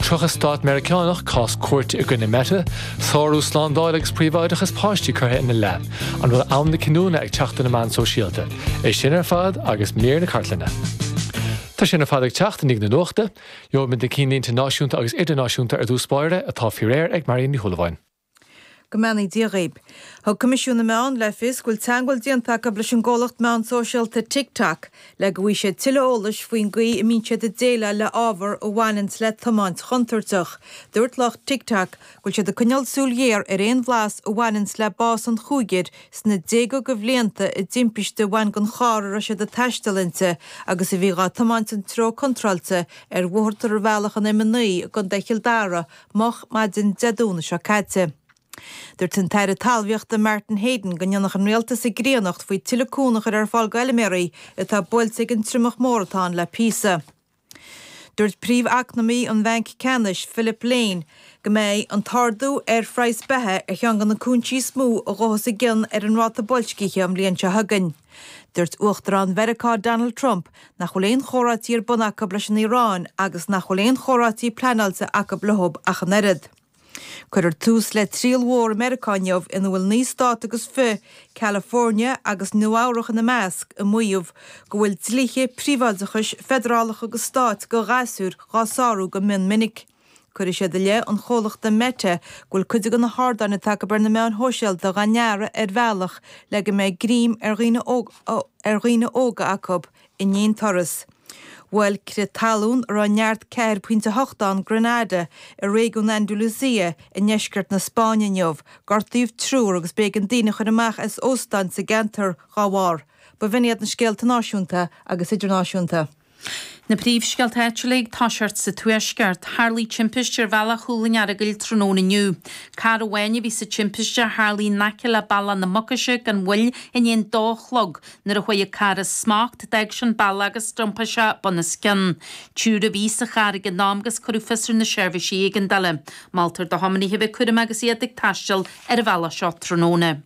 30 stát Meiriceánach cás cúirte i gcoinne Meta, sárú slándála agus príobháideachas páistí curtha ina leith. An bhfuil am na cinniúna ag teacht do na meáin sóisialta? É sin ar fad agus mír na cartlainne. Tá sin ar fad ag teacht i ndiaidh na nuachta. Gheobhaimid na cinnlínte náisiúnta agus idirnáisiúnta ar dtús báire, atá faoi réir ag Marion Ní Shúilleabháin. Go mbeannaí Dia dhaoib. Thug Coimisiún na Meán le fios go bhfuil teagmháil déanta acu leis an gcomhlacht meán sóisialta TikTok le go bhfaighidh siad tuilleadh eolais faoin gcaoi a mbíonn siad ag déileáil le ábhar a bhaineanns le tiomáint chontúirteach. Dúirt lucht TikTok go bhfuil siad ag coinneáil súil ghéar ar aon bhlas a bhaineanns le bás an chúigir sna déaga de bhlianta i dtimpiste a bhain den charr a raibh siad ag taisteal inti agus a bhí dhá tiomáint an treo contráilte ar bhóthar tarbhealach an M9 i gContae Chill Dara moch maidin Dé Domhnaigh seo caite. Dúirt an tAire Talmhaíochta Martin Heydon go ndéanfadh an Rialtas a gcríonnacht faoi tuilleadh cúnamh a chur ar fáil do fheilméaraí atá buailte ag an triomach mór atá ann le píosa. Dúirt príomh-eacnamaí an Bhainc Ceannais, Philip Lane, go mbeidh an t-ardú ar phraghas beatha ar cheann de na cúinsí is mó a ghabhfas i gcion ar an ráta boilscithe an bhliain seo chugainn. Dúirt Uachtarán Mheiriceá Donald Trump nach bhfuil aon chomhráití ar bun acu leis an Iaráin agus nach bhfuil aon chomhráití pleanáilte acu leo ach an oiread. Cuirfear tús le triail mhór i Meiriceá inniu ina bhfuil 9 stát agus fi, California agus Nua Eabhrach ina measc, ag maíomh go bhfuil dlíthe príobháideachais feidearálacha agus stáit do ghasúir dhá sárú go mion minic. Cuirfidh siad i leith an chomhlachta Meta go bhfuil cuid de na hardáin atá acu ar na meáin shóisialta dhá ndearadh ar bhealach le go mbeidh greim ar dhaoine ar dhaoine óga acu in aon turas. Bhuail crith talún a raibh neart 4.8 ann Granada i réigiún Andalusia i ndeisceart na Spáinne inniu. Gortaíodh triúr agus b'éigean daoine a chur amach as óstáin sa gceantar dá bharr. B'in iad na scéalta náisiúnta agus idirnáisiúnta. Na príomhscéalta áitiúla ag toiseacht sa Tuaisceart. Tharlaigh timpiste ar bhealach Chúil an Earagail tráthnóna inniu. Carr amháin a bhí sa timpiste a tharlaigh in aice le Bealach na Mucaise gan mhoill i ndiaidh an dó a chlog. Nuair a chuaigh an carr as smacht, d'fhág sé an bealach agus d'iompaigh sé bunoscionn. Triúr a bhí sa charr ag an am agus cuireadh fios ar na seirbhísí éigeandála. Moltar do thiománaithe a bheith cúramach agus iad ag taisteal ar an bhealach seo tráthnóna.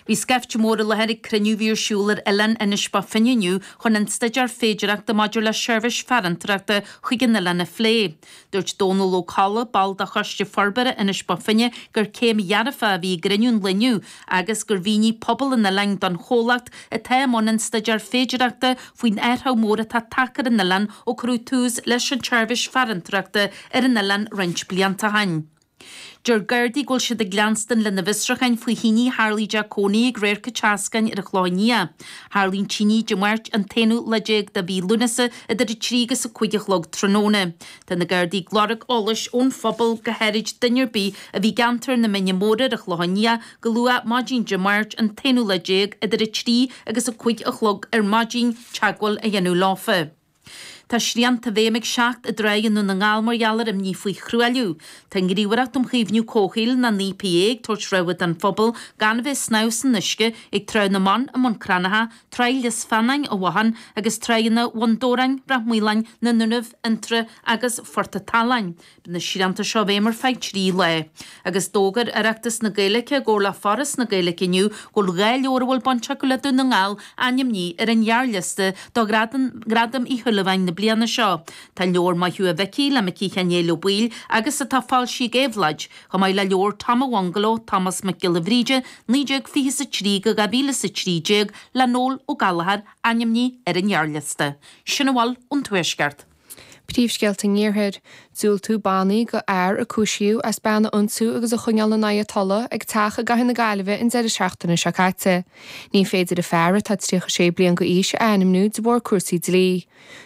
Bhí scaifte mór i láthair ag cruinniú a bhí ar siúl ar oileán Inis Bó Finne inniu chun an staidéar féidearthachta maidir le seirbhís farantóireachta chuig an oileán a phlé. Dúirt Dónal Ó Colla, ball de Choiste Forbartha Inis Bó Finne, gur céim dhearfach a bhí i gcruinniú an lae inniu agus gur mhínigh pobal an oileáin don chomhlacht atá i mbun an staidéir féidearthachta faoin athrú mór atá tagtha ar an oileán ó cuireadh tús leis an tseirbhís farantóireachta ar an oileán roinnt blianta ó shin. Deir Gardaí go bhfuil siad ag leanstan lena bhfiosrúcháin faoi thine a tharlaigh i dteach cónaí ag Radharc an tSeascáin ar an Chlochán Liath. Tharlaigh an tine Dé Máirt an t-aonú lá déag de mhí Lúnasa idir 3 agus 5 a chlog tráthnóna. Tá na Gardaí ag lorg eolais ón phobal, go háirid duine ar bith a bhí i gceantar na Mine Móire ar an Chlochán Liath go luath maidin Dé Máirt an t-aonú lá déag idir 3 agus 5 a chlog ar maidin, teagmháil a dhéanamh leofa. Tá srianta i bhfeidhm ag seacht dtráigh i nDún na nGall mar gheall ar imní faoi thruailliú. Tá an Ghníomhaireacht um Chaomhnú Comhshaoil nó an EPA ag tabhairt rabhadh don phobal gan a bheith ag snámh san uisce ag Trá na mBan i mBun Cranncha, Tráigh Lios Feannáin i bhFotháin agus tráigheanna Bhun Dobhráin, Ráth Maoláin, na nDúnaibh, Fhionntrá agus Phort a' tSaláin. Beidh na srianta seo i bhfeidhm ar feadh 3 lá. Agus d'fhógair Oireachtas na Gaeilge i gcomhar le Foras na Gaeilge inniu go bhfuil 2 leabhar a bhfuil baint acu le Dún na nGall ainmnithe ar an ghearrliosta do Ghradam Uí Shúilleabháin na bliana seo. Tá an leabhar Maith Thú a Mhicí le Micí Sheáin Néill Ó Baoill agus atá foilsithe ag Éabhlóid, chomh maith le leabhar Tom a' Bhungaló, Tomás Mac Giolla Bhríde, 1923-2013 le Noel Ó Gallchóir ainmnithe ar an ghearrliosta. Sin a bhfuil ón Tuaisceart. Príomhscéalta an Iarthair. Diúltú bannaí do fhear a cúisíodh as bean a ionsú agus a choinneáil in aghaidh a tola ag teach i gcathair na Gaillimhe an deireadh seachtaine seo caite. Ní féidir an fear, atá 36 bliain d'aois, a ainmniú de bharr cúrsaí dlí.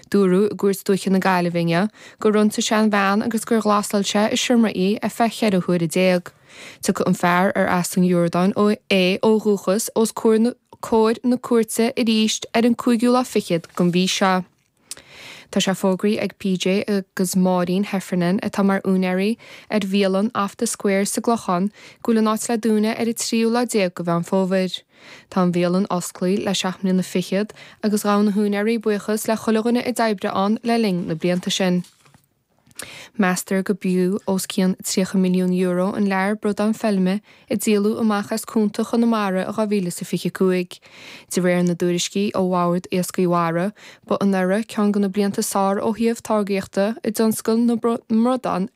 Dúradh i gCúirt Dúiche na Gaillimhe inniu gur ionsaigh sé an bhean agus gur ghlasáil sé i seomra í ar feadh 14 huaire. Tiocfaidh an fear, ar as an Iordáin é ó dhúchas, os comhair na cúirte arís ar an cúigiú lá fichead den mhí seo. Tá sé fógraithe ag PJ agus Máirín Heffernan, atá mar úinéirí ar bhialann Off The Square sa gClochán, go bhfuil an áit le dúnadh ar an tríú lá déag de Mheán Fómhair. Tá an bhialann osclaí le seacht mbliana fichead agus ghabh na húinéirí buíochas le chuile dhuine a d'oibrigh ann le linn na blianta sin. Meastar go b'fhiú os cionn €30 milliún an lear bradán feilme a díoladh amach as cuanta Chonamara i 2025. De réir na dtuairiscí ó Bhord Iascaigh Mhara, ba anuraidh ceann de na blianta is fearr ó thaobh táirgíochta i dtionscal na mbradán.